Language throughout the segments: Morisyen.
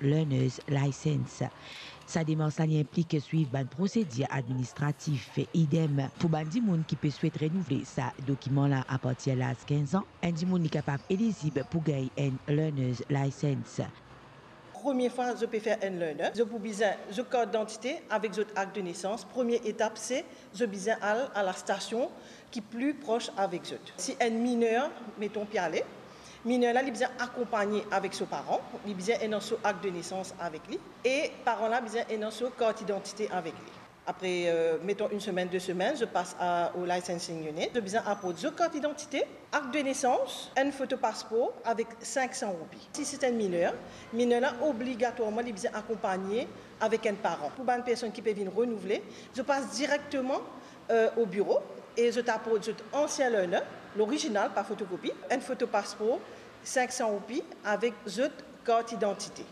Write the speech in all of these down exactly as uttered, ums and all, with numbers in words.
Learner's License. Sa demars la, li inplik swiv bann prosedir administratif. Idem pou bann dimoun ki pe swet renouvle sa dokiman la apartir laz kinz an, enn dimoun li kapav elizib pou gagn enn Learner's License. Premie fwa zot pe fer enn learner, zot pou bizin zot kart didantite avek zot akt de nesans. Premie etap, se zot bizin al a lastasion ki pli pros avek zot. Si enn miner, meton, pe ale, miner la, li bizin akonpagne avek so paran, li bizin ena so akt de nesans avek li, e paran la bizin ena so kart didantite avek li. Apre, euh, meton, enn semenn, de semenn, zot pas a, au licensing unit, zot bizin aport zot kart didantite, akt de nesans, enn foto paspor avek sink san roupi. Si se enn miner, miner la obligatwarman li bizin akonpagne avek enn paran. Pou bann personn ki pe vinn renouvle, zot pas direkteman, euh, o biro e zot aport zot ansien learner, lorizinal, pa fotokopi, enn foto paspor, sink san roupi avek zot kart didantite.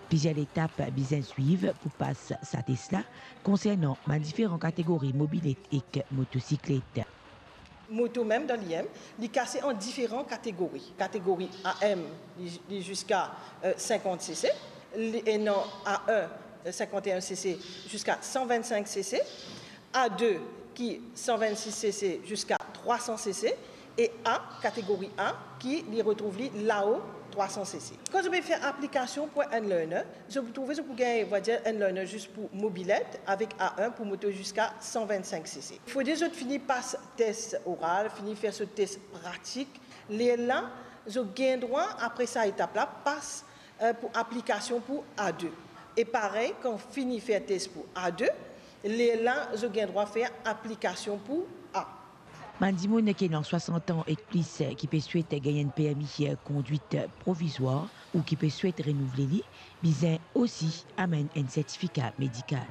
Plizier letap bizin swiv pou pas sa tes la, konsernan bann diferan kategori mobilet ek motosiklet. Moto mem dan li mem, li kase an diferan kategori. Kategori A M, li, li ziska, euh, sinkant C C, li ena A un, euh, sinkant e enn C C ziska san vinn-sink C C, A de ki san vinn-sis C C ziska trwa san C C, e A, kategori A, ki li retrouv li lao trwa san C C. Kan zot pe fer aplikasion pou enn learner, zot pou trouve zot pou gagn, on va dir, enn learner zis pou mobilet avek A un pou moto ziska san vinn-sink C C. Fode zot fini pas tes oral, fini fer so tes pratik. Lerla, zot gagn drwa, apre sa etap la, pas, euh, pou aplikasion pou A de. E parey, kan fini fer tes pou A de, lerla zot gagn drwa fer aplikasion pou A. Bann dimoun ki ena swasant an ek plis ki pe swet gagn enn permi kondwit provizwar ou ki pe swet renouvle li, bizin osi amenn enn sertifika medikal.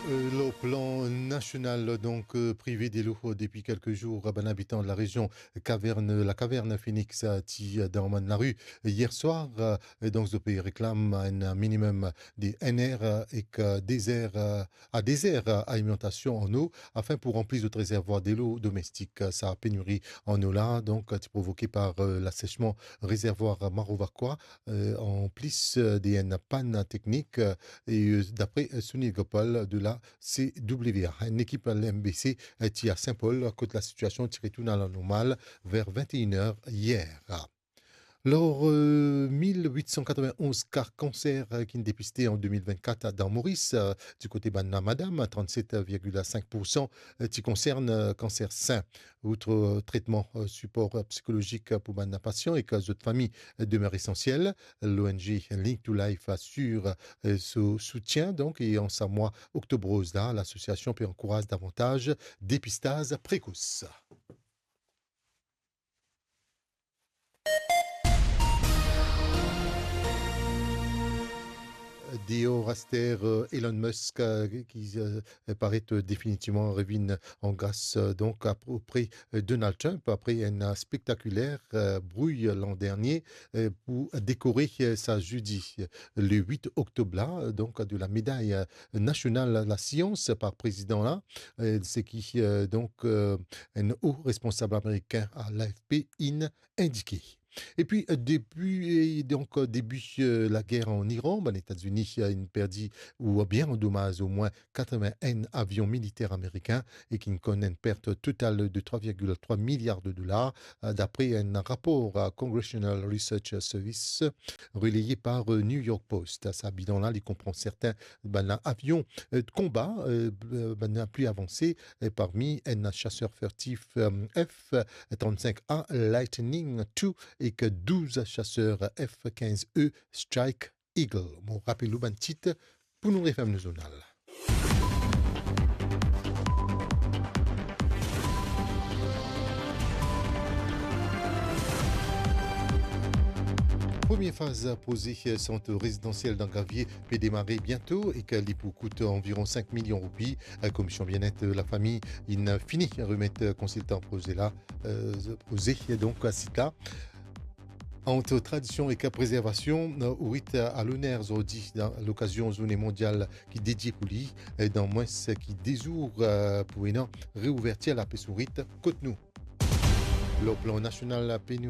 Euh, lor plan nasional, donk, euh, prive delo depi kelke zour bann abitan de la rezion Caverne, la Caverne Phoenix, euh, ti, euh, dan bann lari yer swar, euh, e donk zot pe reklam enn minimem de enn er, euh, ek, euh, de zer, euh, a de zer, euh, alimentasion an o, afin pou ranpli zot rezervwar delo domestik. Euh, sa peniri an o la, donk, euh, ti provoke par, euh, lasesman rezervwar Marovacqua, euh, an plis, euh, de enn pann teknik, euh, e, euh, dapre, euh, Sunil Gopal de la C W A. Enn ekip L M B C, euh, ti a Saint-Paul, kot lasitiasion ti retourn a lanormal ver vinn-e-enn er yer. Lor, euh, mil wit san katrovin-onz ka kanser, euh, ki'nn depiste an de mil vinn-kat dan Moris, euh, di kote bann madam, trannset virgil sink poursan, euh, ti konsern, euh, kanser sin. Out, euh, tretman, euh, sipor, euh, psikolozik pou bann pasian ek, euh, zot fami, euh, demer esansiel. L O N G Link to Life asir, euh, so soutien, donk, e an sa mwa Oktob Roz la, lasosiasion pe ankouraz davantaz depistaz prekos. Deor aster, euh, Elon Musk, euh, ki, euh, paret, euh, definitivman revinn an gras, euh, donk, apre, euh, Donald Trump, apre enn, euh, spektakiler, euh, brouy lan dernie, euh, pou dekore, euh, sa zedi, euh, le wit oktob la, euh, donk, de la meday, euh, nasional lasians par prezidan la, euh, seki, euh, donk, euh, enn o responsab amerikin a l'A F P inn indike. Epi, euh, depi, euh, donk, euh, debi, euh, lager an Iran, bann Etazini, euh, inn perdi oubien andomaz omwin katrovin-enn avion militer amerikin e ki'nn konn enn pert total de trwa virgil trwa miliar de dolar, euh, dapre enn rapor a Congressional Research Service releye par, euh, New York Post. Sa bilan la, li konpran sertin bann avion, euh, konba, euh, bann pli avanse, euh, parmi enn chaser furtif, euh, F trant-sink A Lightning two ek douz chaser F kinz E Strike Eagle. Mo rapel ou bann tit pou nou referm nou zournal. Premie faz proze sant rezidansiel dan Gravie pe demare biento ek li pou kout anviron sink milion roupi. Komisyon Bienet Lafami inn fini remet konsiltan proze la, euh, proze, donk, sit la. Ant tradision ek prezervasion, euh, ourit a loner zordi dan lokazion Zourne Mondial ki dedie pou li, euh, dan mwins ki de zour, euh, pou ena reouvertir lapes ourit kot nou. Lor plan nasional, peni